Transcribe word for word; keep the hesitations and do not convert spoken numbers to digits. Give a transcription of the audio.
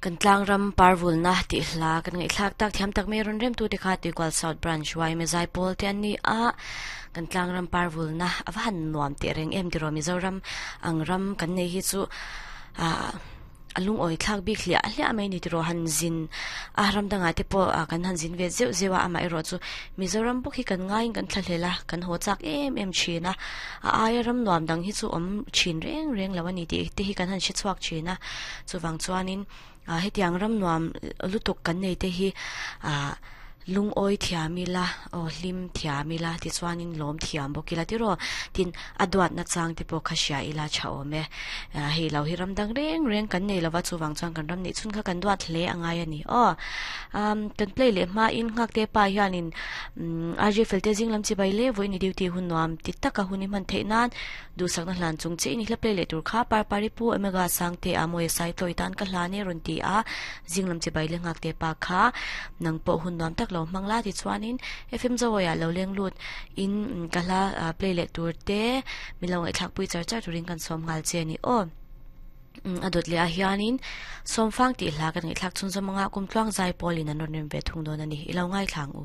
Kan tlang ram parvul na ti hla kan ngai thlak tak thiam tak me ron rem tu te kha ti kwal South Branch Y me zai pol te ani a kan tlang ram parvul na awa han nuam te reng em tiro Mizoram ang ram kan nei hi chu a alung oi thlak bik hlia hlia mai ni tiro han zin a ram danga te po kan han zin ve zeu zewa ama ero chu Mizoram bok hi kan ngai kan thla kan ho chak em em thina a ai ram nuam dang hi chu om chin reng reng lawani ti te hi kan han shi chuak thina chuwang chuanin a hetiang ram nuam lutuk kan nei te hi a lung oi thiamila o hlim thiamila ti chuanin lom thiam bokila tiro tin adwat na chang te po khasia ila cha ome hei lo hi ram dang reng reng kan nei lova chuwang chuan kan ram ni chun kha kan duat hle angai ani o um kan play le ma in ngak te pa hianin R J felte jing lam chi bai le voi ni duty hun nuam ti taka huni man theinan du sakna hlan chung che ni hla play le tur kha par pari pu omega sang te amoi sai tloi tan ka hlane ron ti a jing lam chi bai le ngak te pa kha nang po hun nuam tak lo mangla ti chuanin F M zawaya lo leng lut in kala play le tur te milong e thak pui char char turin kan som ngal che ni o adot le a hianin somfang ti hla kan ngai thlak chun zomanga kum tluang zai polin an ron rem ve thung don ani ilo ngai thlang u.